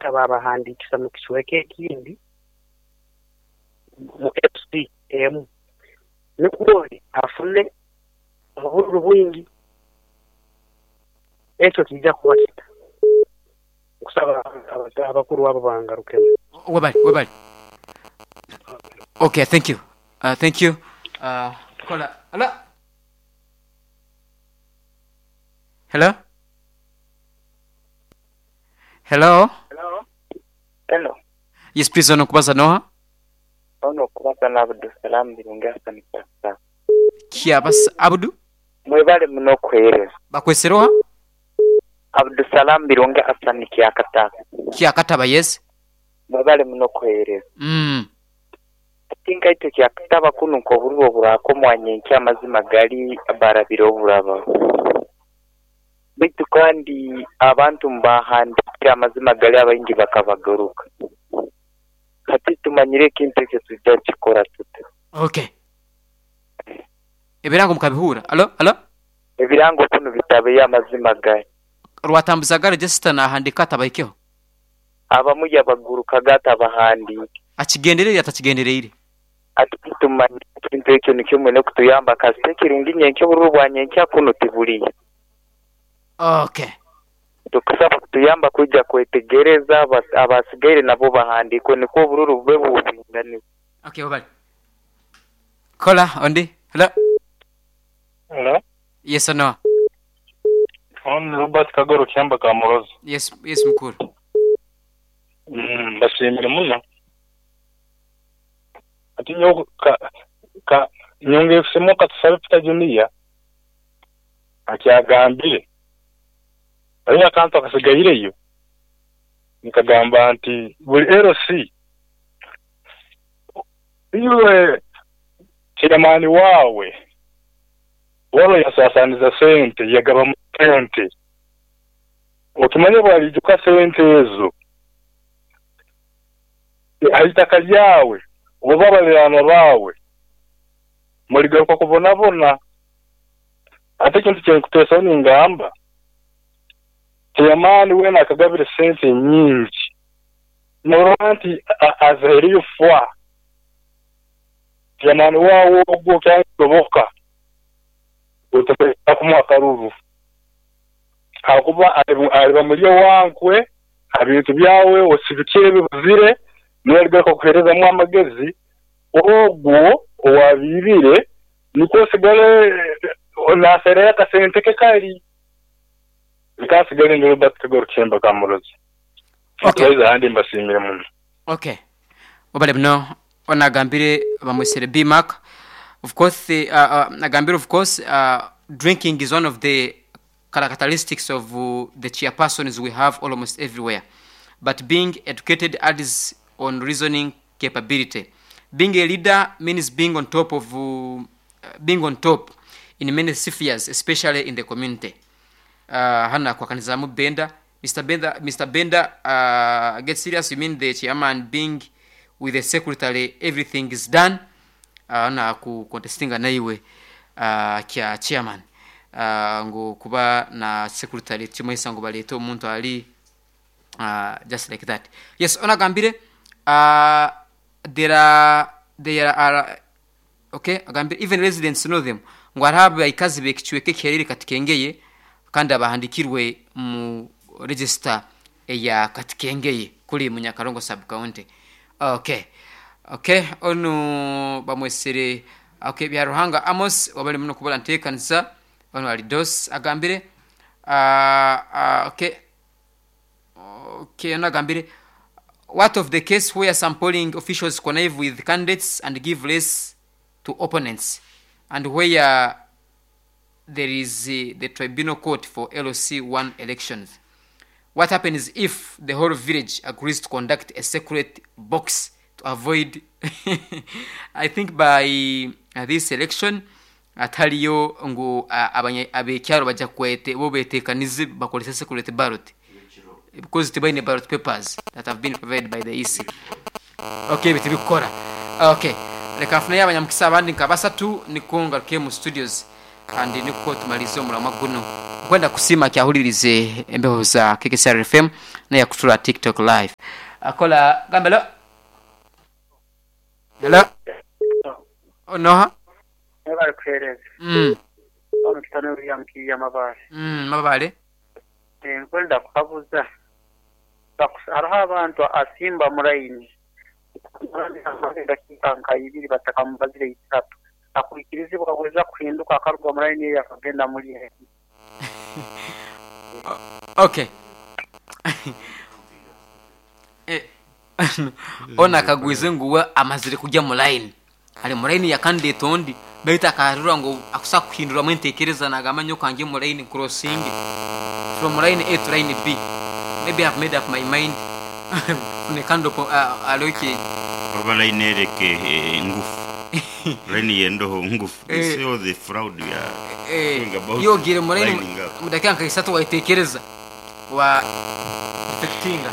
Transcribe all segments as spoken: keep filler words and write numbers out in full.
Kyakataba babahandiikisa mu kicweka ekindi mu L C emu nikwo ori afune obururu bwingi. Ekyo kijja kuba kita kusaba abakuru abo bangarukemu. Webali, webali. Okay, thank you. Uh, thank you. Uh, kola. Hello? Hello? Hello? Hello? Hello. Yes, please, ono kubaza noha? Ono kubaza na Abdu Salam Birungi Hassan Pasta. Kia bas Abdu? Mwebale muno kweereza. Bakweseroha? Abdu Salam Birungi Hassan Kiakataba. Kiakataba, yes. Mwebale muno kweereza. Mm. Tinga ito Kiakataba kuno nkoburwo burako mwanyenki amazima gali barabire oburaba. Bitu kandi abantu mbahandikira amazima gali abaingi bakabagaruka. Hati tumanyire ekintu ekyo tujja kikora tuta. Okay. Ebirango mukabihura. Alo, alo? Ebirango kuno bitabe amazima gali. Rwatambuzaga register nahandika atabaikeho. Abamu yabaguruka gatabahandika. Akigenderere atakigendereire. Ati tumanyire ekintu ekyo nikyo mwene kutuyamba kasite kirungi nyenkyo bururu bwa nyenkya kuno tibuliya. Okay. Tukusaba kutuyamba kuja kwetegereza abasigaire nabo bahandikwe niko obururu bube bubinganiwe. Okay, bye. Kola ondi. Hello. Hello. Yes or no? On Robert Kagoro Kyamba Kamurozi. Yes, yes mukuru. Mm, bashimire muno. Ati nyo ka ka nyonge kusemo katusabe Peter Junior akyagambire. Ari akantu akasigayireyo. Nikagamba nti buli L C iwe chairman wawe walo yasasaniza sente yagaba sente okimanye bwalijuka sente ezo ahitaka lyawe oba balirano bawe muligaruka kubonabona. Ate ekintu kyenkutesa ningamba chairman wena akagabire sente nyingi norora nti azaheriyo fwa chairman wawo ogwo kyasoboka otakumuha akaruru hakuba aliba mulyo wankwe abintu byawe osibikire bibuzire niwaligaruka kuherezamu amagezi ogwo owabibire niko osigale nasereyo akasente ke kali bikasigale ndi Robert Kagoro Kyemba Kamurozi. Okay. Ahandi mbashimire muno. Okay. Obale muno onagambire bamwesere B Mark. Of course the, uh, uh, agambire of course uh, drinking is one of the characteristics of uh, the chairpersons we have almost everywhere. But being educated adds on reasoning capability. Being a leader means being on top of uh, being on top in many spheres, especially in the community. Uh, hana kwa kanizamu Benda, Mister Benda, Mister Benda, uh, get serious. You mean the chairman being with the secretary, everything is done. Uh, na ku contestinga naiwe uh, kya chairman uh, ngo kuba na secretary kimwesa ngo balete omuntu ali uh, just like that. Yes, onagambire uh, there are there are okay agambire even residents know them ngo araba ikazi bekichweke kerere katikengeye kandi abahandikirwe mu register ya katikengeye kuri Munyakarongo sub county. Okay. Okay, onu bamwesere okay bya Ruhanga Amos wabali muno kubola ntekanisa ono alidos agambire uh, uh, okay okay ono agambire what of the case where some polling officials connive with candidates and give less to opponents and where there is uh, the tribunal court for L C one elections? What happens if the whole village agrees to conduct a secret box to avoid I think by uh, this election ataliyo ngo uh, abekyaro bajja kwete bo betekanize bakolesa secret ballot because tibaine ballot papers that have been provided by the E C. Okay, bitibikora. Okay, reka nfune abanyamukisa abandi nka basatu nikonga ke mu studios. Kandi niko tumalize omulamwa guno. Nkwenda kusima kyahulirize embeho za K K C R F M na yakutura TikTok live. Akola gambelo. Hello. Onoha. Ebali kuhereza. Mm. Ono kitano William Kiya Mabale. Mm, Mabale. Eh, nkwenda kukabuza. Hariho abantu asimba muraini. Dakika nka ibiri batakamubazire itatu. Akwikirizibwa kuweza kuhinduka akaruga muraini yakagenda muri. Okay. Eh, ona akagwize nguwe amazire kujya mu line. Ali mu line ya candidate ondi baita akarura ngo akusa kuhindura mu ntekereza nagamba kange mu line crossing from line A to line B. Maybe I've made up my mind. Fune kando po uh, aloke oba line ereke ngufu. Line yendoho ngufu. Eh, so the fraud ya eh, yogire mu line mu dakika nka isatu waitekereza wa affectinga.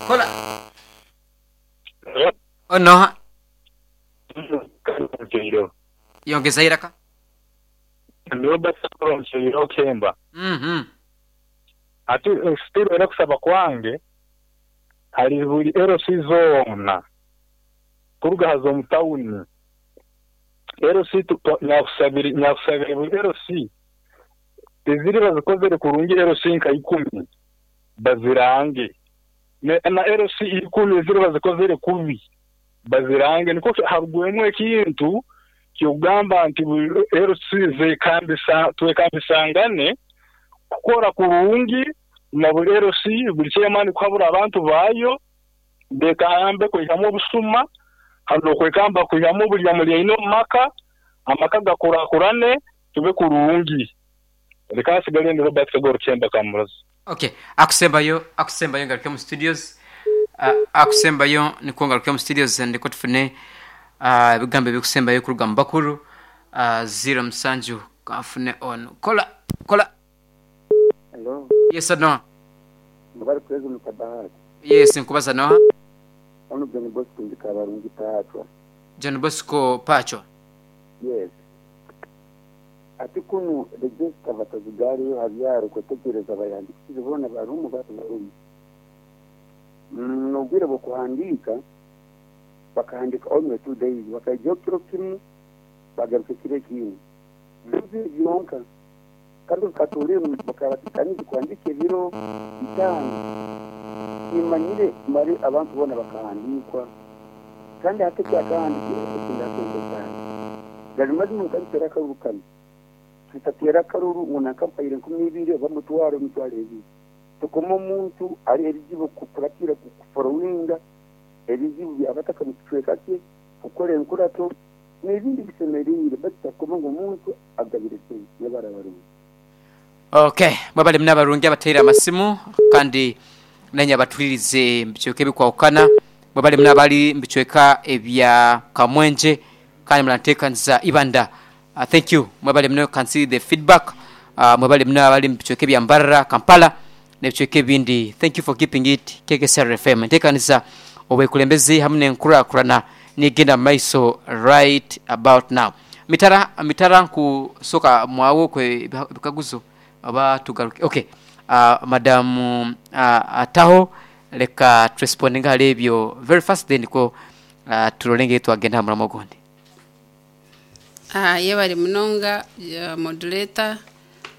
Kola. Ono. Yongeza iraka. Robert Sakoro Kemba. Mhm. Ati still era kusaba kwange hari buri L C zona kuruga hazo mu town. L C nyakusabiri nyakusabiri buri L C eziri bazikozere kurungi L C nka ikumi bazirange na L C ikumi eziri bazikozere kubi bazirange niko harugwemwe ekintu kyogamba nti L C zekambisa twekambisangane kukora kurungi na buri L C buri chairman kuhabura abantu bayo bekambe kwihamu obusuma hano kwekamba kwihamu buri muri ino maka amaka gakurakurane tube kurungi reka sigale ndi Robert Kagoro Chemba Kamurazi. Okay, akusembayo akusembayo ngaruke mu studios. Uh, akusembayo niko ngaruke mu studios ndiko tufune ebigambo uh, ebikusembayo kuruga mu bakuru uh, zero msanju kafune on kola kola. Hello. Yes no. Mbari kwezi mukabahati. Yes nkubaza no. Ono John Bosco ndikabarungi Pachwa. John Bosco Pachwa. Yes. Ati kunu register batazigari habyaro kwetegereza bayandikije bona barumu barumu. Nobwire bwo kuhandika bakahandika only two days bakajya kiro kimwe bagaruka kire kimwe. Bizi byonka kandi katuri bakabatikaniza kwandika ibiro bitanu imanyire mari abantu bona bakahandikwa kandi hate cyakahandikira kunda cyane gari mazi mu kandi akaruru tutatera akaruru ngo nakampayire nkumi ibiri bamutwaro mutware ebi tukoma omuntu ari ebizibu kukuratira kuforowinga ebizibu byabataka mu kicweka cye gukora enkurato n'ibindi bisemerire batakoma ngo omuntu agabire se yabarabarungi. Okay, mwabale mnabarungi abatera amasimu kandi nanya batulirize mbichweke bikwaukana mwabale mnabali mbichweka ebya Kamwenje kandi mlantekanza Ibanda. Uh, thank you mwabale mno can see the feedback. Uh, mwabale mnabali mbichweke bya Mbarara Kampala nebichweke bindi. Thank you for keeping it K K C R F M. Ntekanza obekulembezi hamwe nenkurakurana nigenda maiso right about now. Mitara mitara nkusoka mwawo kwe bikaguzo aba tugaruke. Okay, uh, madam uh, ataho leka responding halebyo very fast then ko uh, tulolenge twagenda muramo gondi. Ah, yebali munonga uh, moderator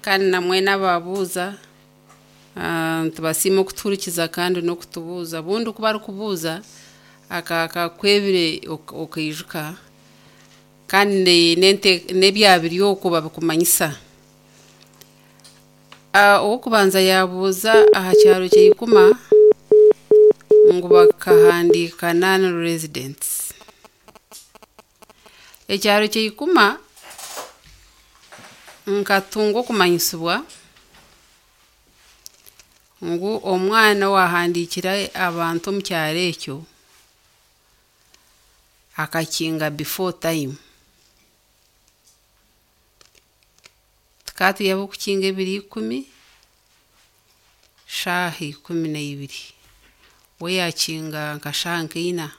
kandi namwe nababuza uh, tubasima okuturikiza kandi no kutubuza bundi kuba ari kubuza akakwebire okaijuka kandi nente nebyabiri okuba bikumanyisa. Uh, okubanza yabuza aha kyaro kyikuma ngo bakahandika non residents. Ekyaro kyikuma nkatunga okumanyisibwa ngu omwana wahandikira abantu omu kyaro ekyo akakinga before time. Tukati yabo kukinga ebiri ikumi shahi ikumi na ibiri we yakinga nka shaha nkaina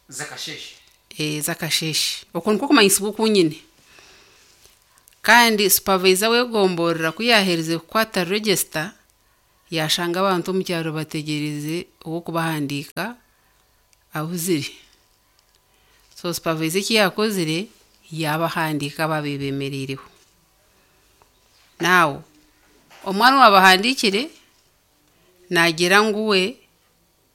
zakasheshe eh zakasheshe okwo niko kumanyisibwa okunyine. Kandi supervisor w'egomborora ku yaaherize kukwata register, yashanga abantu omu kyaro bategyereize ow'okubahandiika abuzire. So supervisor eki yaakozire, yaabahandiika ababaire bemereireho. Now, omwana owabahandiikire, naagira ngu we